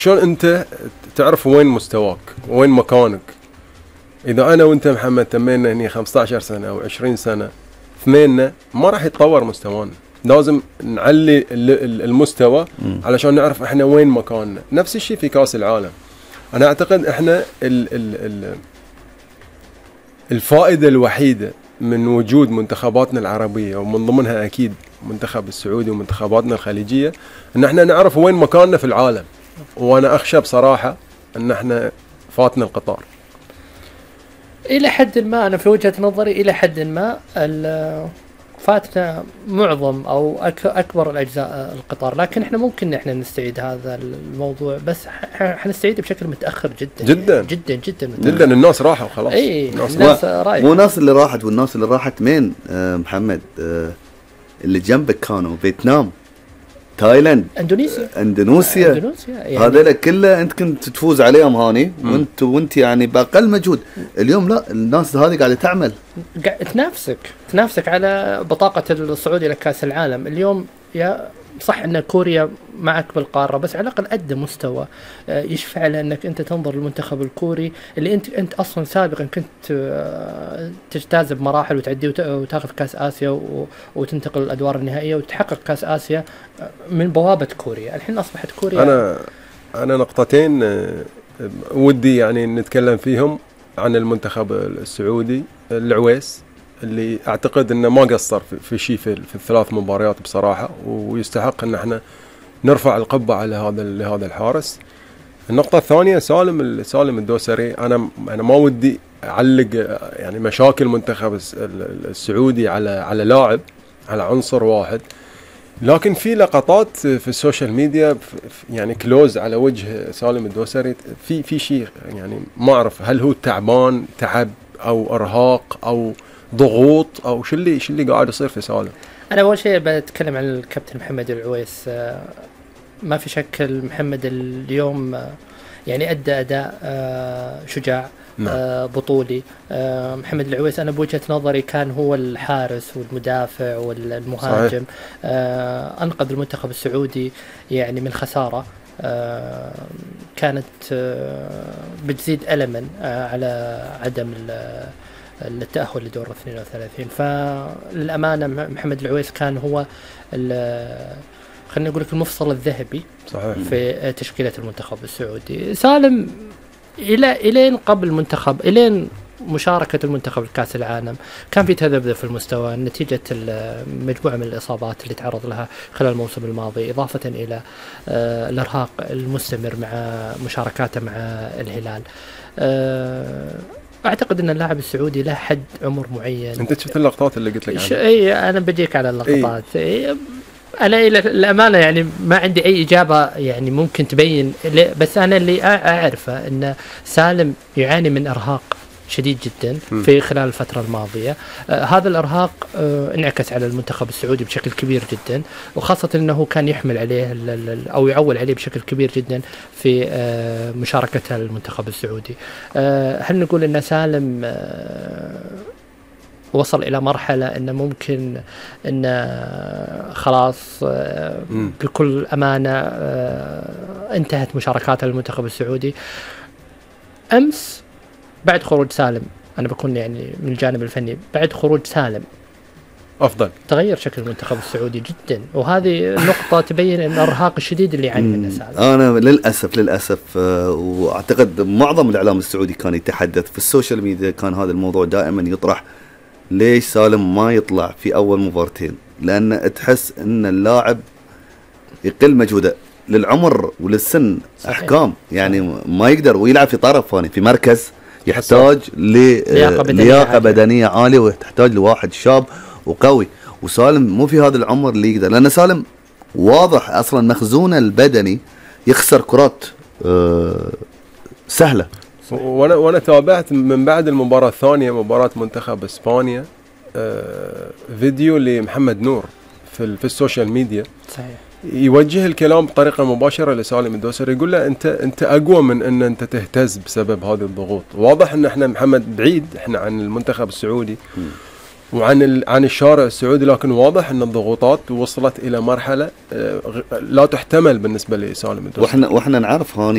شلون انت تعرف وين مستواك وين مكانك؟ اذا انا وانت محمد تمينا هني 15 سنه او 20 سنه اثنيننا ما راح يتطور مستوانا. لازم نعلي المستوى علشان نعرف احنا وين مكاننا. نفس الشيء في كاس العالم. انا اعتقد احنا الفائده الوحيده من وجود منتخباتنا العربيه ومن ضمنها اكيد منتخب السعودي ومنتخباتنا الخليجيه ان احنا نعرف وين مكاننا في العالم. وانا اخشى بصراحه ان احنا فاتنا القطار. الى حد ما انا في وجهه نظري الى حد ما فاتنا معظم او اكبر الاجزاء القطار، لكن احنا ممكن احنا نستعيد هذا الموضوع، بس حنستعيد بشكل متاخر جدا جدا جدا جدا متأخر. جدا. الناس راحوا خلاص. اي الناس رايحه. مو الناس اللي راحت، والناس اللي راحت مين محمد؟ اللي جنبك كانوا فيتنام، تايلاند، اندونيسيا يعني هذول كله انت كنت تفوز عليهم هاني وانت يعني باقل مجهود. اليوم لا، الناس هذه قاعده تعمل، تنافسك على بطاقه الصعود الى كاس العالم. اليوم يا صح ان كوريا معك بالقاره، بس على الاقل قدم مستوى يشفع لانك انت تنظر للمنتخب الكوري اللي انت اصلا سابقا كنت تجتاز بمراحل وتعدي وتاخذ كاس اسيا وتنتقل الادوار النهائيه وتحقق كاس اسيا من بوابه كوريا. الحين اصبحت كوريا. انا نقطتين ودي يعني نتكلم فيهم عن المنتخب السعودي. العويس اللي اعتقد انه ما قصر في شيء في الثلاث مباريات بصراحه، ويستحق ان احنا نرفع القبعه على هذا الحارس. النقطه الثانيه سالم الدوسري. انا ما ودي اعلق يعني مشاكل المنتخب السعودي على لاعب، على عنصر واحد، لكن في لقطات في السوشيال ميديا يعني كلوز على وجه سالم الدوسري في شيء يعني ما اعرف هل هو تعب او ارهاق او ضغوط او شو اللي قاعد يصير في سالم. انا اول شيء بتكلم عن الكابتن محمد العويس. ما في شك محمد اليوم يعني ادى اداء شجاع، بطولي. محمد العويس انا بوجهة نظري كان هو الحارس والمدافع والمهاجم. انقذ المنتخب السعودي يعني من خسارة كانت بتزيد ألما على عدم التأهل لدور 32. فللأمانة محمد العويس كان هو خلينا نقول لك المفصل الذهبي صحيح في تشكيلة المنتخب السعودي. سالم إلين قبل المنتخب، إلين مشاركة المنتخب في كأس العالم كان في تذبذب في المستوى نتيجة مجموعة من الإصابات اللي تعرض لها خلال الموسم الماضي، إضافة إلى الإرهاق المستمر مع مشاركاته مع الهلال. أعتقد أن اللاعب السعودي له حد عمر معين. أنت شفت اللقطات اللي قلت لك عنها؟ أي أنا بجيك على اللقطات. أنا إلى الأمانة يعني ما عندي أي إجابة يعني ممكن تبين، بس أنا اللي أعرفه أن سالم يعاني من إرهاق شديد جدا في خلال الفترة الماضية. هذا الإرهاق انعكس على المنتخب السعودي بشكل كبير جدا، وخاصة أنه كان يحمل عليه أو يعول عليه بشكل كبير جدا في مشاركته المنتخب السعودي. هل نقول أن سالم وصل إلى مرحلة أنه ممكن أن خلاص بكل أمانة انتهت مشاركاته المنتخب السعودي؟ أمس بعد خروج سالم، أنا بكون يعني من الجانب الفني، بعد خروج سالم أفضل تغير شكل المنتخب السعودي جدا، وهذه النقطة تبين أن الإرهاق الشديد اللي يعاني منه سالم. أنا للأسف وأعتقد معظم الإعلام السعودي كان يتحدث في السوشيال ميديا، كان هذا الموضوع دائما يطرح، ليش سالم ما يطلع في أول مبارتين؟ لأن تحس أن اللاعب يقل مجهوده للعمر وللسن. صحيح. أحكام يعني صحيح. ما يقدر ويلعب في طرف ثاني في مركز يحتاج لياقة بدنية عالية، ويحتاج لواحد شاب وقوي، وسالم مو في هذا العمر اللي يقدر، لأن سالم واضح أصلا مخزونه البدني يخسر كرات سهلة. وانا تابعت من بعد المباراة الثانية مباراة منتخب اسبانيا فيديو لمحمد نور في السوشيال ميديا. صحيح. يوجه الكلام بطريقة مباشرة لسالم الدوسري، يقول له انت اقوى من ان انت تهتز بسبب هذه الضغوط. واضح ان احنا محمد بعيد احنا عن المنتخب السعودي، عن الشارع السعودي، لكن واضح ان الضغوطات وصلت الى مرحله لا تحتمل بالنسبه لسالم الدوسري. واحنا نعرف هاني